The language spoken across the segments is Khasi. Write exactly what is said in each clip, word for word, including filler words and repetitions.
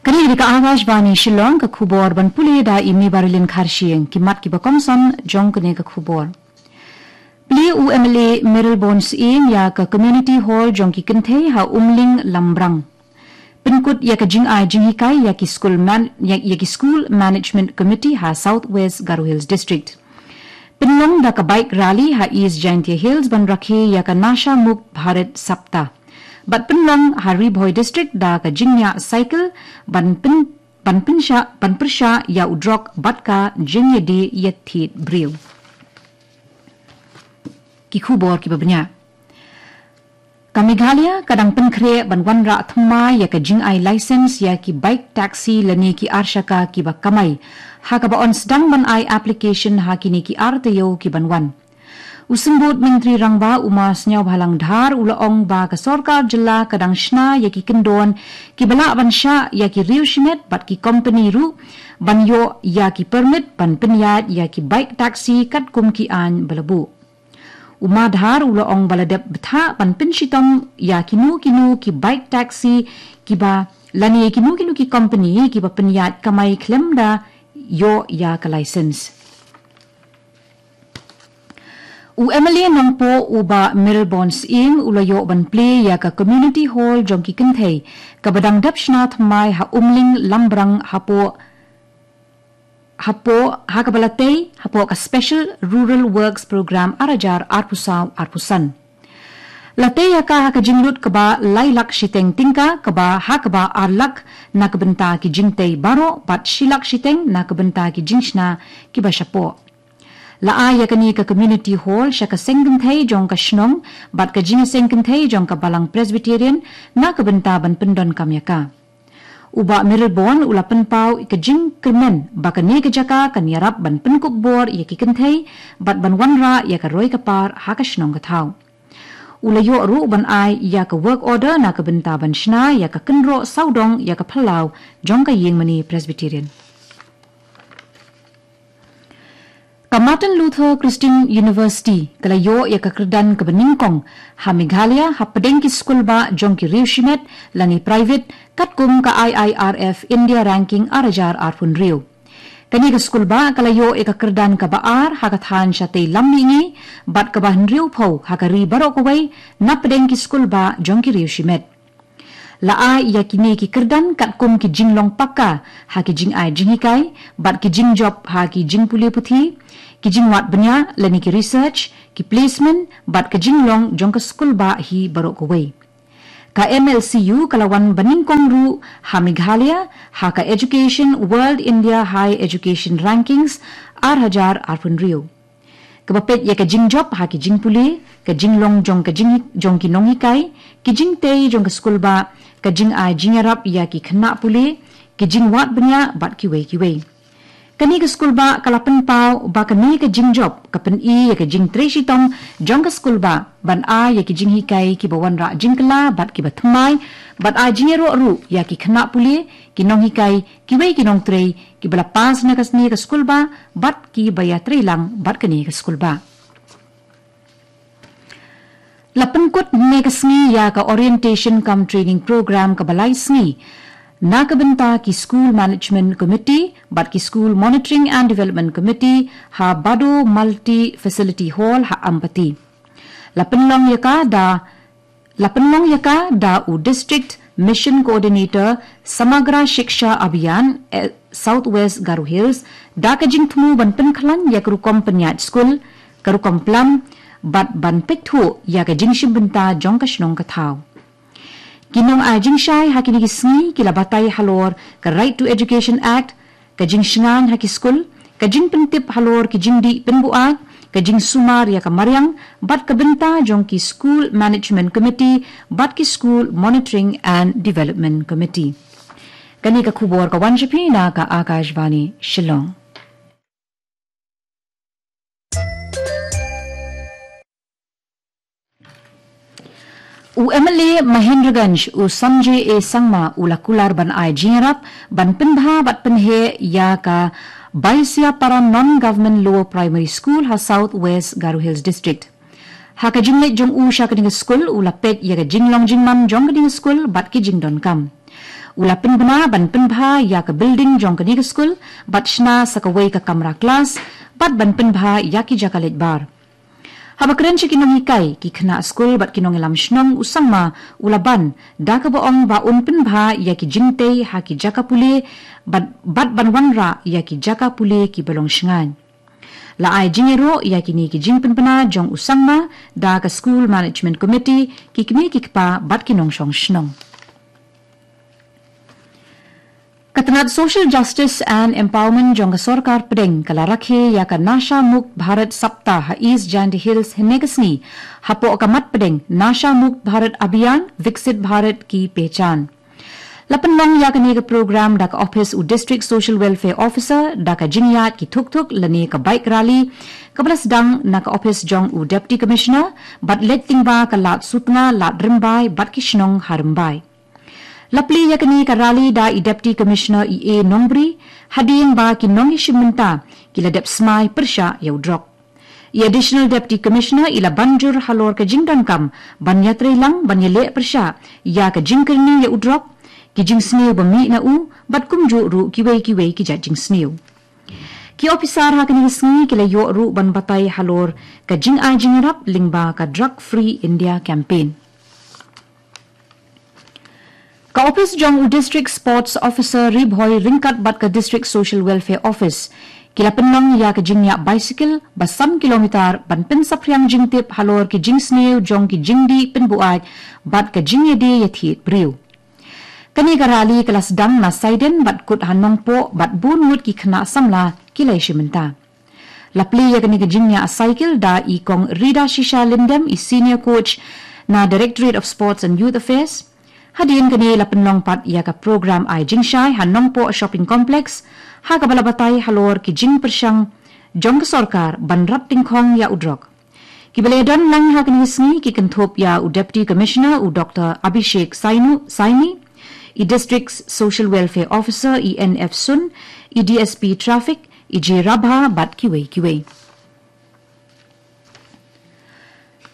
Kane ka dei ka Akashvani Shillong, ka khubor ban pule da i Mibarilin Kharshiing. Ki mat kiba kongsan jong kane ka khubor. Plie u M L A Mayralborn Syiem ïa ka Community Hall jong ki kynthei ha Umling Lambrang. Pynkut ïa ka jingai jinghikai ïa ki School Man-, ïa, ïa ki School Management Committee ha South West Garo Hills District. Pynlong da ka bike rally ha East Jaintia Hills ban rakhe ïa ka Nasha Mukt Bharat Saptah. Bad pynlong ha Ri Bhoi District da ka jingïaid cycle ban pyn-, ban pynshah, ban pyrshah ïa u drok bad ka jingïadie ïathied briew. Ki khubor kiba bniah. Ka Meghalaya ka dang pynkhreh ban wanrah thymmai ïa ka jingai license ïa ki bike taxi lane ki arshaka kiba kamai, ha kaba yn sdang ban ai application ha kine ki ar taïew kiban wan. U Symbud Myntri Rangbah u Ma Sniawbhalang Dhar u la ong ba ka sorkar jylla ka dang shna ïa ki kyndon kiba lah ban shah ïa ki riew shimet bad ki kompani ruh ban ïoh ïa ki permit ban pynïaid ïa ki bike taxi katkum ki aiñ ba la buh. U Ma Dhar u la ong ba la dep bthah ban pynshitom ïa kino kino ki bike taxi kiba, lane kino kino ki kompani kiba pynïaid kamai khlem da ïoh ïa ka license. U M L A Nongpoh u Bah Mayralborn Syiem u la ïoh ban plie ïa ka Community Hall jong ki kynthei kaba dang dep shna thymmai ha Umling Lambrang hapoh, hapoh, ha kaba la tei hapoh ka Special Rural Works Program ar hajar arphew saw arphew san. La tei ïa ka ha ka jinglut kaba lai lak shiteng tyngka, kaba ha kaba ar lak na ka bynta ki jingtei baroh bad shi lak shiteng na ka bynta ki jingshna kiba shapoh. La ai ïa kane ka Community Hall sha ka seng kynthei jong ka shnong bad ka jingïaseng kynthei jong ka Balang Presbyterian na ka bynta ban pyndonkam ïa ka. U Bah Mayralborn u la pynpaw ïa ka jingkyrmen ba kane ka jaka kan ïarap ban pynkup bor ïa ki kynthei bad ban wanrah ïa ka roi ka par ha ka shnong ka thaw. U la ïoh ruh ban ai ïa ka work order na ka bynta ban shna ïa ka kynroh sawdong ïa ka phyllaw jong ka Ïingmane Presbyterian. Ka Martin Luther Christian University ka la ïoh ïa ka kyrdan kaba nyngkong ha Meghalaya hapdeng ki skulbah jong ki riew shimet lane private katkum ka I I R F India Ranking ar hajar arphew hynriew. Kane ka skulbah ka la ïoh ïa ka kyrdan kaba ar ha ka thaiñ shatei lam mihngi bad kaba hynriewphew ha ka ri baroh kawei napdeng ki skulbah jong ki riew shimet. La ai ïa kine ki kyrdan katkum ki jinglong pakka ha ki jingai jinghikai bad ki jingjop ha ki jingpule puthi, ki jingwad bniah lane ki research, ki placement bad ka jinglong jong ka skulbah hi baroh kawei. Ka M L C U ka la wan banyngkong ruh ha Meghalaya ha ka Education World India Higher Education Rankings ar hajar arphew hynriew. Kaba peit ïa ka jingjop ha ki jingpule, ka jinglong jong ka jing, jong ki nonghikai, ki jingtei jong ka skulbah, ka jingai jingïarap ïa ki khynnah pule, ki jingwad bniah bad kiwei kiwei. Kane ka skulbah ka la pynpaw ba kane ka jingjop ka pyni ïa ka jingtrei shitom jong ka skulbah ban ai ïa ki jinghikai kiba wanrah jingkylla bad kiba thymmai, bad ai jingïaroh ruh ïa ki khynnah pule, ki nonghikai, kiwei ki nongtrei kiba la pass na kane ka skulbah bad kiba ïatreilang bad kane ka skulbah. La pynkut mynne ka sngi ïa ka Orientation cum Training Program kaba lai sngi na ka bynta ki School Management Committee bad ki School Monitoring and Development Committee ha Bado Multi Facility Hall ha Ampati. La pynlong ïa ka da La pynlong ïa ka da u District Mission Coordinator Samagra Shiksha Abhiyan, eh, South West Garo Hills, da ka jingthmu ban pynkhlaiñ ïa ka rukom pynïaid skul, ka rukom plam, bad ban peit thuh ïa ka jingshim bynta jong ka shnong ka thaw. Ki nongai jingshai ha kine ki sngi ki la batai halor ka Right to Education Act, ka jingshngaiñ ha ki skul, ka jingpyntip halor ki jingdih pynbuaid, ka jingsumar ïa ka mariang, bad ka bynta jong ki School Management Committee bad ki School Monitoring and Development Committee. Kane ka khubor ka wan sha phi na ka Akashvani Shillong. U M L A Mahendraganj, u Sanjay A Sangma, u la kular ban ai jingïarap ban pynbha bad pynheh ïa ka Baisiapara Non-Government Lower Primary School ha South West Garo Hills District. Ha ka jingleit jong u sha kane ka skul, u la peit ïa ka jinglong jingman jong kane ka skul bad ki jingdonkam. U la pynbna ban pynbha ïa ka building jong kane ka skul, bad shna sa kawei ka kamra klas, bad ban pynbha ïa ki jaka leit bar. Haba kren sha ki nonghikai, ki khynnah skul bad ki nongïalam shnong u Sangma u la ban, da kaba ong ba un pynbha ïa ki jingtei ha ki jaka pule, bad, bad ban wanrah ïa ki jaka pule kiba long shngaiñ. La ai jingïaroh ïa kine ki jingpynbna jong u Sangma, da ka School Management Committee, ki kmie ki kpa bad ki nongshong shnong. Ka tnat Social Justice and Empowerment jong ka sorkar pdeng ka la rakhe ïa ka Nasha Mukt Bharat Saptah ha East Jaintia Hills hynne ka sngi, hapoh ka mat pdeng Nasha Mukt Bharat Abhiyan, Viksit Bharat Ki Pehchan. La pynlong ïa kane ka program da ka ophis u District Social Welfare Officer, da ka jingïaid ki thuk thuk lane ka bike rally, kaba la sdang na ka ophis jong u Deputy Commissioner, bad leit lyngba ka Lad Sutnga, Lad Rymbai bad ki shnong ha Rymbai. La plie ïa kane ka rally da i Deputy Commissioner i A Nongbri, hadien ba ki nongïashim bynta ki la dep smai pyrshah ïa u drok. I Additional Deputy Commissioner i la ban jur halor ka jingdonkam ban ïatreilang ban ïaleh pyrshah ïa ka jingkyrni ïa u drok, ki jingsniew ba mih na u, bad kumjuh ruh kiwei kiwei ki jait jingsniew. Ki ophisar ha kane ka sngi ki la ïoh ruh ban batai halor ka jingai jingïarap lyngba ka Drug Free India Campaign. Ka ophis jong u District Sports Officer Ri Bhoi ryngkat bad ka District Social Welfare Office ki la pynlong ïa ka jingïap bicycle ba san kilometer ban pynsaphriang jingtip halor ki jingsniew jong ki jingdih pynbuaid bad ka jingïadei ïathied briew. Kane ka rally ka la sdang na Saiden bad kut ha Nongpoh bad bun ngut ki khynnah samla ki la ïashim bynta. La plie ïa kane ka jingïap cycle da i Kong Rida Shisha Lyndem, i Senior Coach na Directorate of Sports and Youth Affairs. Hadien kane la pynlong pat ïa ka program ai jingshai ha Nongpoh Shopping Complex, ha kaba la batai halor ki jingpyrshang jong ka sorkar ban rat tyngkhong ïa u drok. Kiba la ïadon lang ha kane ka sngi ki kynthup ïa u Deputy Commissioner u Doctor Abhishek Sainu, Saini, i District Social Welfare Officer i N F Sun, i D S P Traffic i J Rabha bad kiwei kiwei.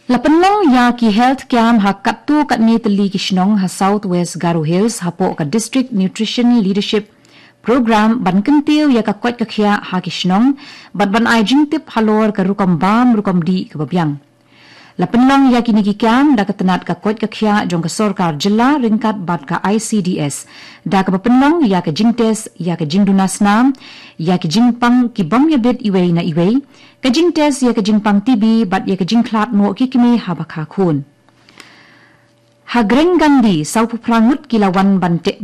La pynlong ïa ki health camp ha katto katne tylli ki shnong ha South West Garo Hills hapoh ka District Nutrition Leadership Program ban kyntiew ïa ka koit ka khiah ha ki shnong, bad ban ai jingtip halor ka rukom bam rukom dih kaba biang. La pynlong ïa kine ki camp da ka tnat ka koit ka khiah jong ka sorkar jylla ryngkat bad ka I C D S, da kaba pynlong ïa ka jingtest ïa ka jingduna snam, ïa ki jingpang ki bym ïabit iwei na iwei, ka jingtest ïa ka jingpang T B bad ïa ka jingkhlad noh ki kmie haba kha khun. Ha Greng Gandhi, sawphew phra ngut ki la wan ban teh